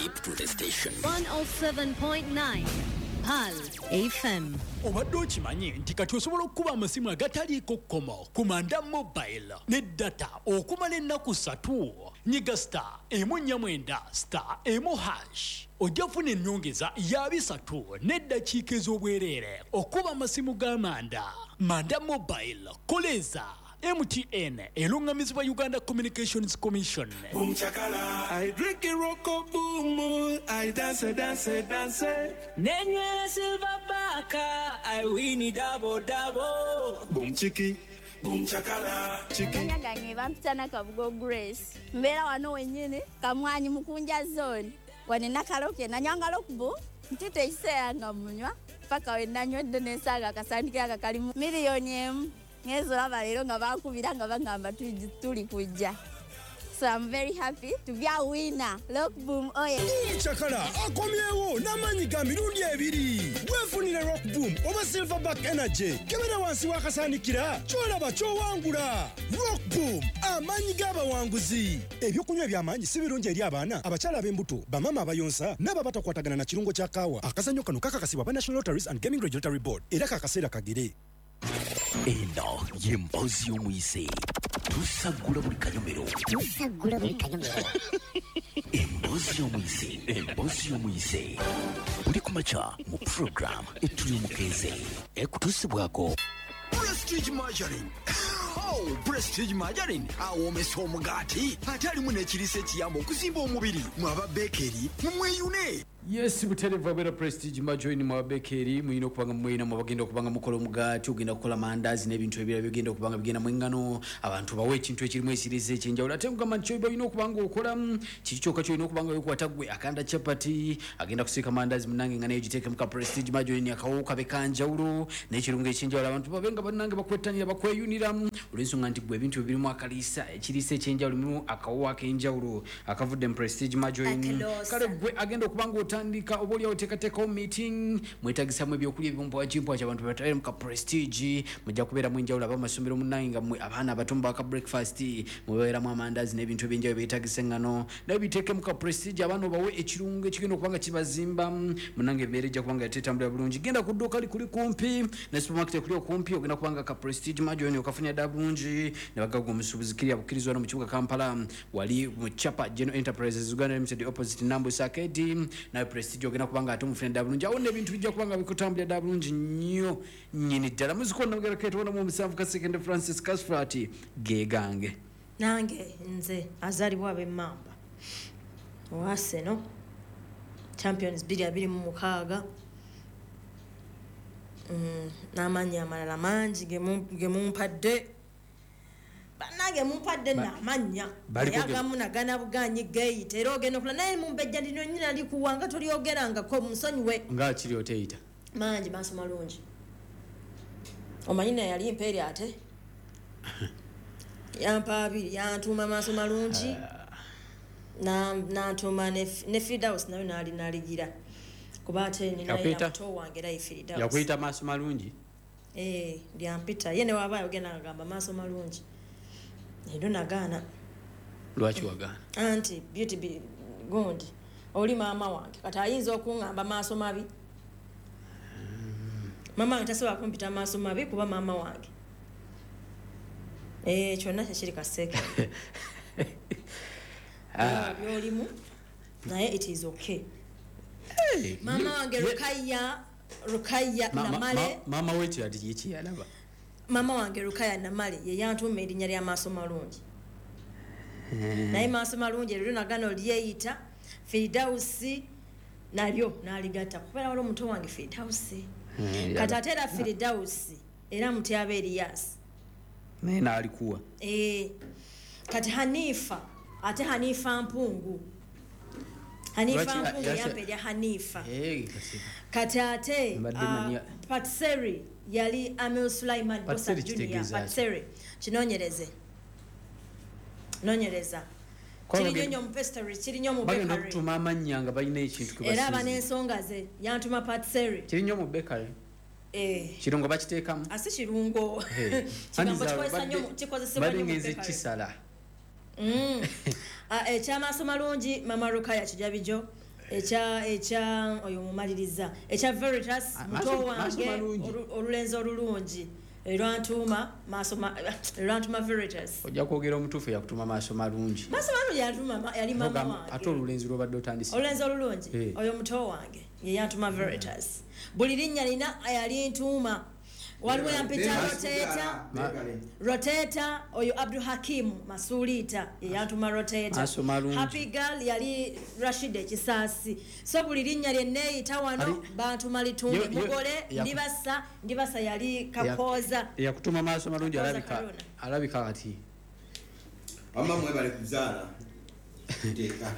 Keep to the station. 107.9 Pearl FM. Obadde okimanyi nti kati osobola okukuba amasimu agataliiko kkomo ku Manda Mobile ne data okumala ennaku 3? Nyiga *149*1# ojja kufuna ennyongeza ya 300 n'eddakiika ez'obwereere okuba amasimu ga Manda. Manda Mobile, koleeza. MTN eruŋŋamizibwa Uganda Communications Commission. Boom chakala. I drink a roko boom. I dance, dance, dance. Nenywera silver baka. I win double double. Boom chiki. Boom chakala. Chiki. Amanya gange bampita Nakabugo Grace. Mbeera wano wennyini Kamwanyi Mukunja zone. Wano Nakaloke nanywanga Rockbull. Ntute ekiseera nga munywa paka we nanywedde n'ensaaga akasandikira aka kalimu 1 million. Ngenze olaba leero nga bankubira nga bagamba tuli kujja. So I'm very happy to be a winner. Rock Boom oye. Chakala akomyewo n'amaanyi ga mirundi ebiri. Weefunire Rock Boom oba Silverback Energy. Kebera wansi w'akasaanikira ky'olaba ky'owangula. Rock Boom, amaanyi g'abawanguzi. Ebyokunywa eby'amaanyi si birungi eri abaana, abakyala ab'embuto, bamaama abayonsa n'abo abatakwatagana na kirungo kya kaawa. Akazannyo kano kakakasibwa aba National Lotteries and Gaming Regulatory Board era kakaseera kagere. Eno y'emboozi y'omuyise. Tusaggula buli kanyomero. Tusaggula buli kanyomero. Emboozi y'omuyise, emboozi y'omuyise, buli ku makya mu program Etuli Omukeeze, ekutuusibwako Prestige Margarine. Oh, Prestige Margarine awoomesa omugaati ate alimu n'ekiriisa ekiyamba okuzimba omubiri. Mwaba bakery mumweyune. Yes, buterevu abeera Prestige Margarine. Mwa bakery mulina okuba nga mweyina, mwabagenda okuba nga mukola omugaati, ogenda kukola mandazi n'ebintu ebirala bigenda okuba nga bigenda mu engano. Abantu bawe ekintu ekirimu ekiriisa ekyenjawulo. Ate nkugamba nti kyoba olina okuba nga okola kiki kyokka kyolina okuba nga wekwata gwe akanda chapati, agenda kusiika mandazi, munange nga naye giteekemu ka Prestige Margarine, akawowo kabe kanjawulo n'ekirungo ekyenjawulo, abantu babe nga bannange bakwettanira, bakweyunira, olw'ensonga nti gwe ebintu birimu akaliisa, ekiriisa ekyenjawulo, mulimu akawowo ak'enjawulo akavudde mu Prestige Margarine. Akaloosa. Kale gwe agenda okuba nga otandika oba oliawo oteekateekawo meeting, mwetagisamu ebyokulya ebimpwakimpwaki, abantu batwale mu ka Prestige, mujja kubeeramu enjawulo. Abamasomero munnange nga mmwe abaana abato mubaka breakfast, mubeeramu amandazi n'ebintu ebyenjawulo byetagisa eŋŋano, naye biteekemu ka Prestige, abaana obawe ekirungo ekigenda okuba nga kibazimba. Munnange embeera ejja kuba nga yatetambulira bulungi. Genda ku dduuka likuli kumpi ne supermarket ekuli okumpi, ogenda kuba nga ka Prestige Margarine okafunira ddala bulungi ne bagaga omusuubuzi kiri abukkirizwa no mu kibuga Kampala, wali mu Chapa General Enterprises Uganda Limited, opposite Nambus Arcade. Nawe Prestige ogenda kuba nga ate omufuna ddala bulungi awo n'ebintu bijja kuba nga bikutambulira ddala bulungi nnyo nnyini ddala. Muzikonna ketuwonamu omusanvu Kasekende Francis Casfrat gegange. Nange nze azaalibwa ab'emmamba owa Arsenal Champions 2026, n'amannya amalala mangi ge mumpadde. Bannange mumpadde nno amannya, naye agamu nagana buganyi geyita era ogenda okula naye mumbejja ndino nyina likuwanga tolyogerangako, musonyiwe. Nga kiri oteyita. Mangi maaso malungi, omanyi naye yali mpeeri ate yampa abiri, yantuuma maaso malungi, nantuuma ne Firdaus nayo naali naligira kuba ate nina Yakuyita? muto wange era ye Firdaus. Yakuyita maaso malungi? Eh, lyampita ye newaaba ayogenda ngagamba maaso malungi, ero nagaana. Lwaki wagaana? Anti beauty gundi oli maama wange, kati ayinza okuŋŋamba maaso mabi? Maama wange tasobola kumpita maaso mabi kuba maama wange. Eh, kyonna kyekiri kaseeke byolimu, naye it is okay. Maama wange Rukaya, Rukaya Namale. Maama wekirati kikiyalaba. Maama wange Rukaya Namale ye yantuuma erinnya lya maaso malungi, naye maaso malungi eryo nagana olyeyita. Firidausi nalyo naligatta kubeera wali omuto wange Firidausi. Kati ate era Firidausi era mutyaba Eriyasi. Naye naalikuwa. Eh, kati Hanifa, ate Hanifa Mpungu, Hanifa Mpungu yampa erya Hanifa. Kati ate Mbadde Patseri yali Amil Sulaiman Bosa Patseri Junior. kitegeeza ki? Patseri kinonyereze, nonyereza. Kwa Kiri nnyo mu pastry, kiri nnyo mu bagenda bakery. okutuma amannya nga balina ekintu kwe Era aba basinze. n'ensonga ze, yantuma Patseri. Kiri nnyo mu bakery? Eh. Kirungo bakiteekamu? Asi kirungo. Hey. Kigambo Andiza kikozesa nnyo kikozesebwa badde nnyo mu ngenze bakery. kisala. Ah, ekyamaaso malungi mama Rukaya Kijabijo. Ekya oyo mumaliriza ekya Veritas muto wange olulenzi olulungi erwantuma maaso erwantuma Veritas. Ojja kwogera omutuufu yakutuma maaso malungi. Maaso malungi yantuma yali mama wange. Ate olulenzi lwobadde otandise. Olulenzi olulungi oyo muto wange ye yantuma Veritas. Buli linnya lina yali ntuma. Waliwo yampita Roteta oyo Abdul Hakim Masulita ye yantuma Roteta. Happy Girl yali Rashid Kisasi. So buli linnya lye neeyita wano bantuma litumbe mugole ndibasa yali Kakoza. Yakutuma maaso malungi alabika kati. Amma mwebale kuzaala. Teeka.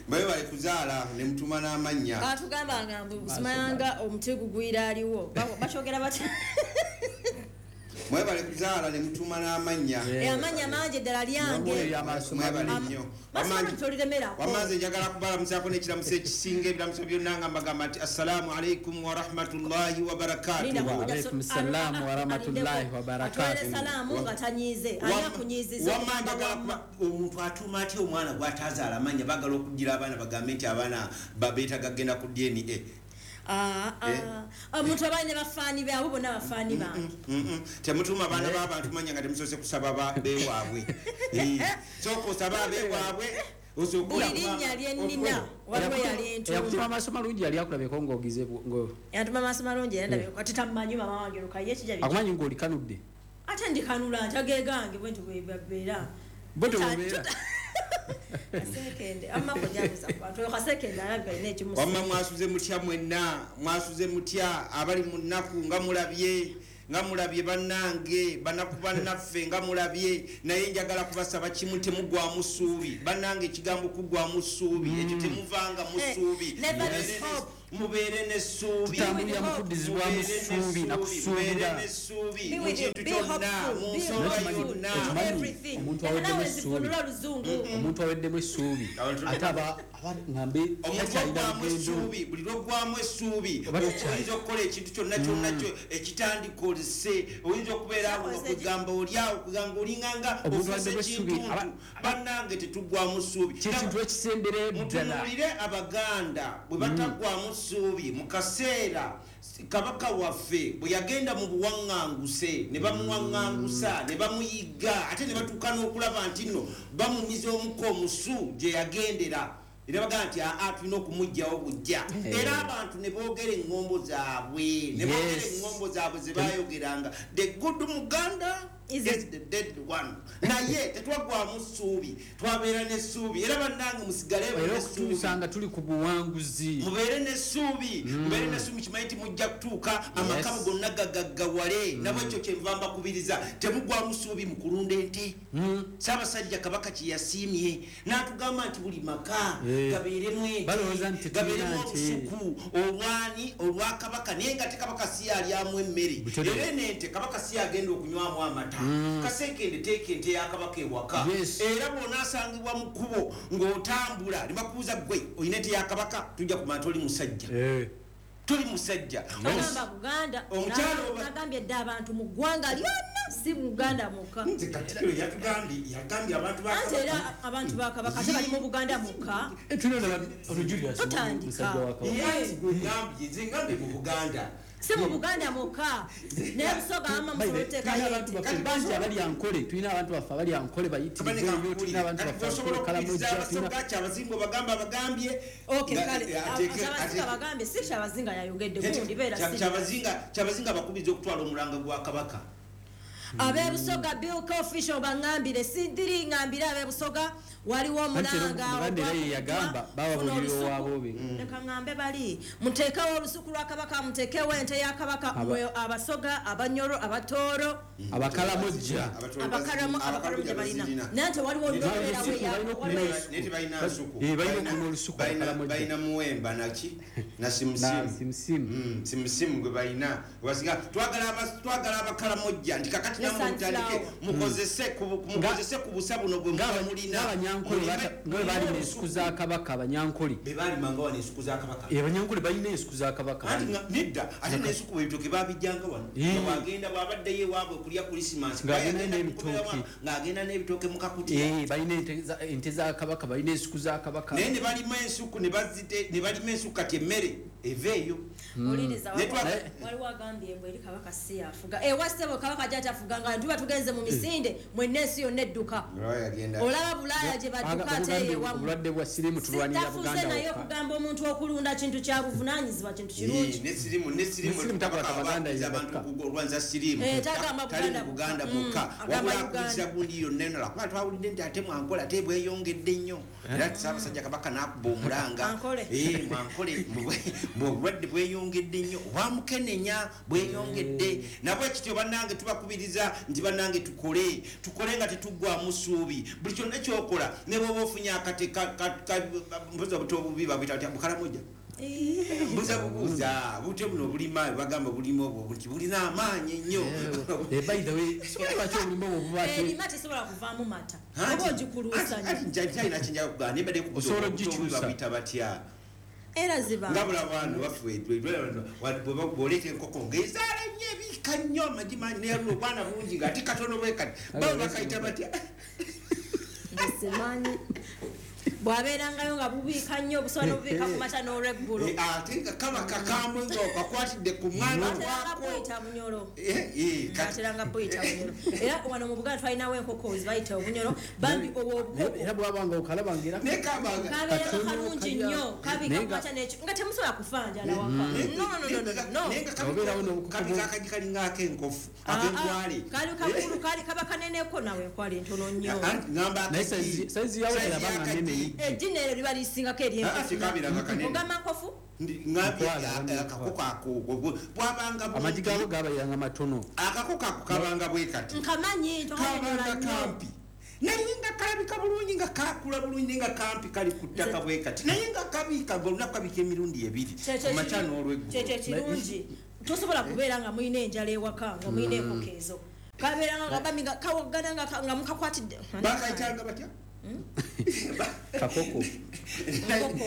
Mwebale kuzaala ne mutuma n'amannya. Atugamba nga mbu simanga omuti gugwira aliwo. Bakyogera bati. Mwebale kuzaala ne mutuma n'amannya. Amannya mangi ddala lyange. Mwebale nnyo. Wamanze njagala kubalamusaako n'ekiramuso ekisinga ebiramuso byonna nga mbagamba nti assalaamu alaikum wa rahmatullahi wa barakatuh. Wa alaikum salaam wa rahmatullahi wa barakatuh. Atwale salaamu nga tanyiize. Ani akunyiiziza? Omuntu atuma atya omwana gw'atazaala amannya? Baagala okugira abaana bagambe nti abaana babeetaaga kugenda ku DNA. Omuntu abaana bafaani be abo bonna bafaani bange. Temutuma abaana b'abantu manya nga temusoose kusaba beewaabwe. Sooka osaba abeewaabwe. Buli linnya lye nnina waliwo yali ntuma. Yakutuma maaso malungi yali akulabeko ng'ogize Yantuma maaso malungi era ndabeko ate tammanyi mama wange Rukaye kijja. Akumanyi ng'olikanudde. Ate ndikanula ntageegange bwe nti bwe babeera. Bwe tubeera. Kasekende amma kujabuza abantu kasekende alabika ine ekimusa. Wamma mwasuze mutya mwenna, mwasuze mutya abali mu nnaku nga mulabye bannange banaku bannaffe nga mulabye, naye njagala kubasaba kimu, temugwamu ssuubi bannange. Ekigambo kugwamu ssuubi ekyo temuvanga mu ssuubi, mubeere n'essuubi, tutambulira mu kuddizibwamu ssuubi na kusuubira mu kintu kyonna, mu nsonga yonna. Omuntu aweddemu essuubi ate aba ngambe omuntu aggwamu essuubi, buli lw'oggwamu essuubi oyinza okukola ekintu kyonna kyonna ekitandika olise, oyinza okubeera awo nga kugamba oli awo kugamba olinganga ofuuse ekintuntu. Bannange tetuggwamu ssuubi, kyekintu ekisemberayo ddala. Mutunuulire Abaganda bwe bataggwamu ssuubi mu kaseera Kabaka waffe bwe yagenda mu buwaŋŋanguse ne bamuwaŋŋangusa ne bamuyigga ate ne batuuka n'okulaba nti nno bamumiza omukka omusu gye yagendera, era bagamba nti aa tulina okumuggyawo bujja. Era abantu ne boogera eŋŋombo zaabwe, ne boogera eŋŋombo zaabwe ze baayogeranga, the good Muganda is the dead one. Naye tetwaggwamu ssuubi, twabeera n'essuubi. Era bannange musigale n'essuubi, tusanga tuli ku buwanguzi. Mubeere n'essuubi, mubeere n'essuubi, kimanyi nti mujja kutuuka amaka gonna gagaggawale. Nabwekyo kyenva mbakubiriza, temuggwamu ssuubi mu kulunda ente. Ssaabasajja Kabaka kye yasiimye n'atugamba nti buli maka gabeeremu ente, gabeeremu olusuku olwani olwa Kabaka, naye nga te Kabaka si alyamu emmere. Era eno ente Kabaka si agenda okunywamu amata. Kasekende teeka ente ya Kabaka ewaka. Era bw'onaasangibwa mu kkubo ng'otambula ne bakubuuza ggwe olina ente ya Kabaka, tujja kumanya toli musajja. Toli musajja. Agamba Buganda, nagambye dda abantu mu ggwanga lyonna, si Buganda mwokka. Nze Katikkiro yagambye abantu ba Kabaka. Era abantu ba Kabaka ate bali mu Buganda mwokka. Tutandika. Nze ngambye mu Buganda. Si mu Buganda mwokka. Naye Busoga ama musoboteekayo ente. Bangi abali Ankole, tulina abantu baffe abali Ankole bayitirize nnyo, tulina abantu baffe Osobola okukkiriza Abasoga Kyabazinga obagamba abagambye. Okay, kale Kyabazinga bagambye, si Kyabazinga yayogedde gundi beera si. Kyabazinga bakubiriza okutwala omulanga gwa Kabaka. Abebusoga Bill Official bangambire sindiri ngambire abebusoga waliwo omulanga Omuganda era ye yagamba bababulira owaabwe. Leka ngambe bali muteekewo olusuku lwa Kabaka, muteekewo ente ya Kabaka, mwe Abasoga, Abanyoro, Abatooro, Abakalamojja, Abakaramoja balina. Naye nte waliwo Naye tebalina nsuku. Balina okulima olusuku Abakalamojja. Balina muwemba naki na simusimu. Simusimu gwe balina. Twagala Abakalamojja nti kakati Kati namwe mutandike mukozese ku busa buno bwe muba mulina. Abanyankole nga balima ensuku za Kabaka, abanyankole be balimanga wano ensuku za Kabaka. Abanyankole balina ensuku za Kabaka. Anti nedda, ate n'ensuku ebitooke babijjanga wano. Nga bw'abaddeyo ewaabwe kulya Christmas, ng'agenda n'ebitooke mu kakutiya. Balina ente za Kabaka, balina ensuku za Kabaka. Naye ne balima ensuku, ne balima ensuku, kati emmere eveeyo. Oliriza waliwo agambye mbu eri Kabaka si yafuga. Ewa ssebo, Kabaka gyatafuga nga tuba tugenze mu misinde, mwenna ensi yonna edduka. Olaba Bulaaya gye badduka, ate ewamu. Obulwadde bwa sirimu tulwanira Buganda. Naye okugamba omuntu okulunda kintu kya buvunaanyizibwa, kintu kirungi. Ne sirimu, ne sirimu abantu olwanza sirimu tali mu Buganda bwokka, wabula akubiriza gundi yonna eno, lwakuba twawulidde nti ate mwankole ate bweyongedde nnyo, era Ssaabasajja Kabaka n'akuba omulanga mwankole obulwadde bweyongedde nnyo, obwamukenenya bweyongedde. Nabwe kityo bannange tubakubiriza nti bannange tukole nga tetuggwamu ssuubi. Buli kyonna kyokola, ne bw'oba ofunye akate mbuza buto obubi babuyita batya, bukalamoja, mbuza bubuuza bute buno obulima bagamba bulima obwo nti bulina amaanyi ennyo. By the way, lwaki obulima obwo buba erima tesobola kuvaamu mata oba ogikuluusanya? Nkyalina kyenjagala kugamba, naye mbadde Osobola ogikyusa. Babuyita batya? Era ziba nga bulaba wano waffe bw'oleeta enkoko ng'ezaala nnyo, ebiika nnyo amagi mangi, naye luno obwana bungi ng'ate katono bwe kati, babo bakayita batya? Simanyi. Bw'abeerangayo nga bubiika nnyo, obusobola n'obubiika ku makya n'olweggulo. Ate nga kaba kakambwe nga okakwatidde ku mwana Bateranga wako. buyita bunyolo. Bateranga buyita bunyolo. Era wano mu Buganda twalinawo enkoko zibayita obunyolo, bambi obwo obukoko. Era bwaba nga okalaba nga era Kabeera kalungi nnyo, kabiika ku makya n'ekyo nga temusobola kufa njala waka. No, no, no, no, no. Kabika akagi kalinga ak'enkofu, ak'enkwale. Kali kakulu, kali kaba kaneneko, nawe enkwale ntono nnyo. Ngamba Naye size yawo terabanga nnene. Ejjina eryo liba lisingako ery'enkofu. Tekabiranga kanene. Ogamba nkofu? Ngambye akakoko ako bwabanga Amagi gaabo gabayiranga matono. Akakoko ako kabanga bwe kati. Nkamanyi. Kabanga kampi, naye nga kalabika bulungi, nga kakula bulungi, naye nga kampi kali ku ttaka bwe kati, naye nga kabiika ngaolunaku kabiika emirundi ebiri, ku makya n'olweggulo. Kyekyo kirungi, tosobola kubeera nga mulina enjala ewaka nga mulina enkoko ezo. Kabeeranga nga bami nga kawogana nga mukakwatidde. Bakayitanga batya? Kakoko. Nkoko.